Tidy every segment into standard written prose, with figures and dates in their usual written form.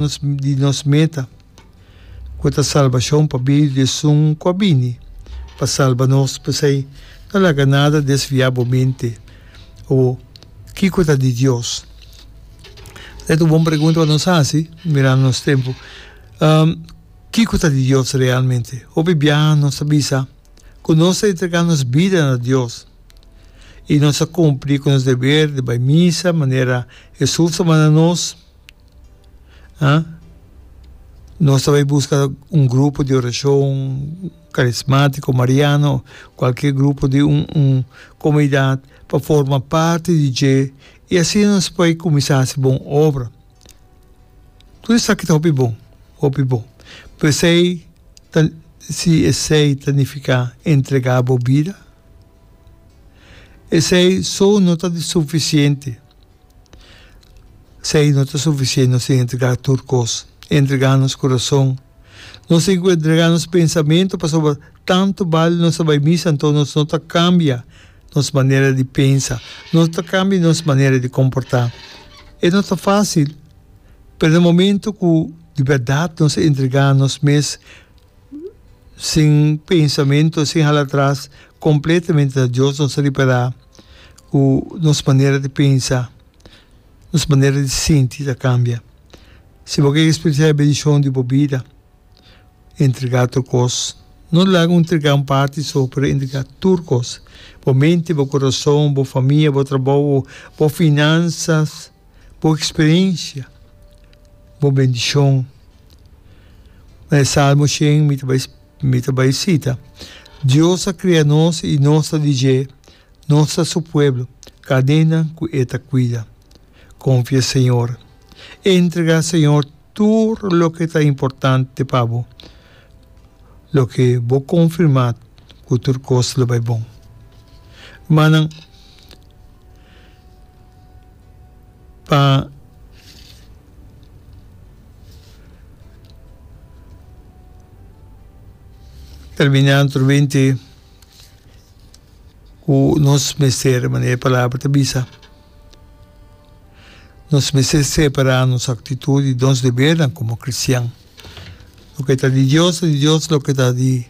Nos di nos meta, ku ta salbashon pa medio di esun ku a bini pa salba nos. P'esei, no laga nada desviá bo mente o kiko ta di Dios. E ta un bon pregunta pa nos hasi, mirando nos tempu. Kiko ta di Dios realmente? Hopi biaha nos ta bisa ku nos ta entregá nos bida na Dios i nos ta kumpli ku nos deber di bai misa manera Hesus a manda nos. Ha? Nos ta bai buska un grupo di orashon karismátiko, mariano, kualke grupo di un un komunidat pa forma parti di dje i asina nos por kuminsá hasi bon obra. Tur esaki ta hopi bon, hopi bon. Pero esei ta si esei ta nifiká entregá bo bida? Esei so no ta sufisiente. Esei no ta sufisiente, nos tin entregá tur kos, entregá nos kurason, nos tin ku entregá nos pensamentu pasobra tantu bal nos ta bai misa anto nos no ta kambia nos manera di pensa, no ta kambia nos manera di komportá. E no ta fásil, pero na momento ku di bèrdat nos entregá nos mes sin pensamentu, sin hala atras, kompletamente na Dios nos ta ripará ku nos manera di pensa, nos manera di sinti ta kambia. Si bo ke eksperensiá e bendishon di bo bida, entregá tur kos. No laga un entregá un parti so, pero entregá tur kos. Bo mente, bo kurason, bo famia, bo trabou, bo finansas, bo eksperensia, bo bendishon. Na e Salmo shen mi ta bai mi ta bai sita, Dios a kria nos i nos ta di dje, nos ta su pueblo, kadenan ku e ta kuida. Konfia Señor. Entregá Señor tur loke ta importante pa bo, loke bo konfirmá ku tur kos lo bai bon. Rumannan, pa. Terminá anteriormente ku nos mester, manera e palabra ta bisa, nos mester separá nos aktitut di nos debernan komo kristian. Loke ta di Dios ta di Dios, loke ta di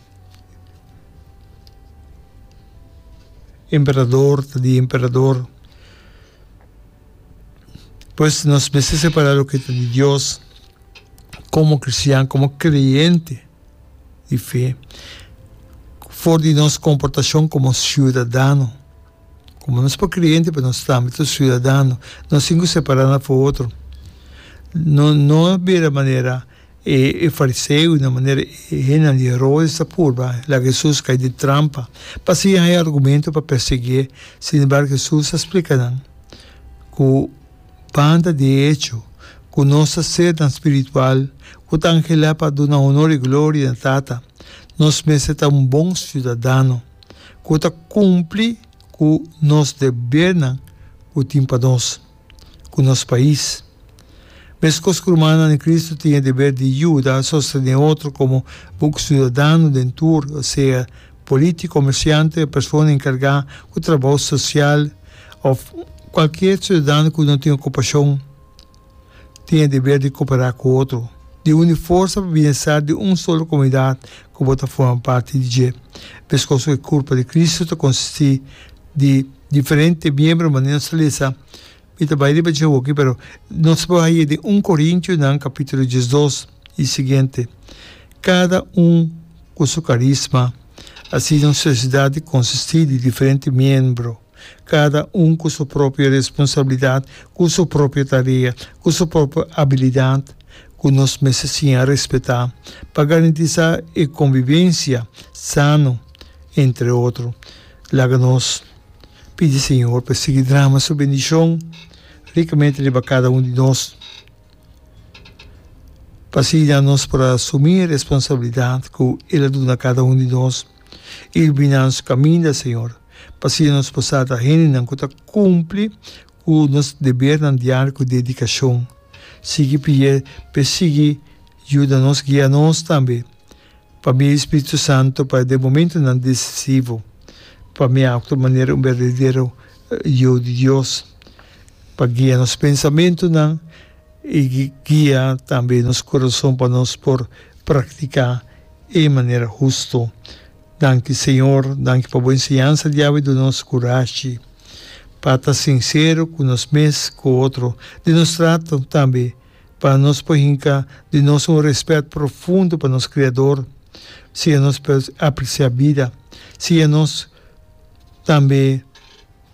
emperador ta di emperador. Pues nos mester separá loke ta di Dios komo kristian, komo kreyente di fe, for di nos komportashon komo siudadano. Komo nos por kreyente, pero nos tambe ta siudadano. Nos tin ku separá nan for otro. No no bira manera e e fariseonan, manera e hendenan di Herodes ta purba laga Hesus kai den trampa pa asina haña argumento pa persiguié. Sin embargo, Hesus a splika nan ku banda di e echo ku nos ta sernan spiritual ku ta anhelá pa duna honor i gloria na Tata, nos mester ta un bon siudadano ku ta kumpli ku nos debernan ku tin pa nos ku nos pais. Meskos ku rumannan di Kristu tin e deber di yuda sostené otro komo bon siudadano den tur, sea polítiko, komersiante, persona enkargá ku trabou sosial òf kualkier siudadano ku no tin okupashon, tin e deber di koperá ku otro, di uni forsa pa bienestar di un solo komunidat ku bo ta forma parti di dje. Meskos ku e kurpa di Kristu ta konsistí di diferente miembro, manera nos ta lesa Mi ta bai riba dje hoki, pero nos por haña den un Korintionan kapítulo diesdos i siguiente. Kada un ku su karisma, asina un sosiedat di konsistí di diferente miembro, kada un ku su propio responsabilidat, ku su propio tarea, ku su propio abilidat, ku nos mester siña respetá pa garantisá e konvivensia sano entre otro. Laga nos. Pidi Señor pa e sigui drama su bendicion ricamente riba cada un di nos, pa asina nos por asumi e responsabilidad cu El a duna cada un di nos. Ilumina nos caminda, Señor, pa asina nos por sa ta hendenan cu ta cumpli cu nos debernan diario cu dedicacion. Sigui pidi p'e sigui yuda nos, guia nos tambe. Pa mi e Spiritu Santo pa den momentonan decisivo pa mi actua manera un berdadero yu di Dios, pa guia nos pensamentonan. I guia tambe nos kurason pa nos por praktiká e manera hustu. Danki Señor, danki pa bo enseñansa di awe duna nos kurashi pa ta sinsero ku nos mes ku otro den nos trato tambe pa nos por hinka di nos un rèspèt profundo pa nos Kreador. Siña nos pa apresiá bida. Siña nos tambe.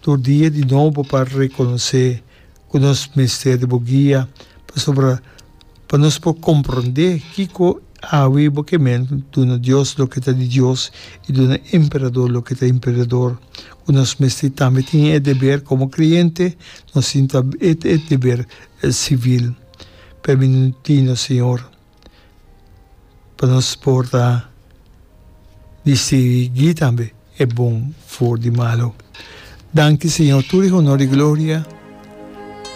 Tur dia di nobo pa rekonosé ku nos mester di bo guia, pasobra pa nos por komprondé kiko awe bo ke men duna Dios loke ta di Dios i duna emperador loke ta emperador, ku nos mester tambe tin e deber komo kreyente, nos tin e deber sivil. Permití nos, Señor. Pa nos por ta distinguí tambe e bon for di malu. Danki Señor, tur e honor i gloria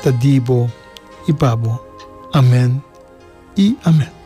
ta di bo i pa bo. Amen i amen.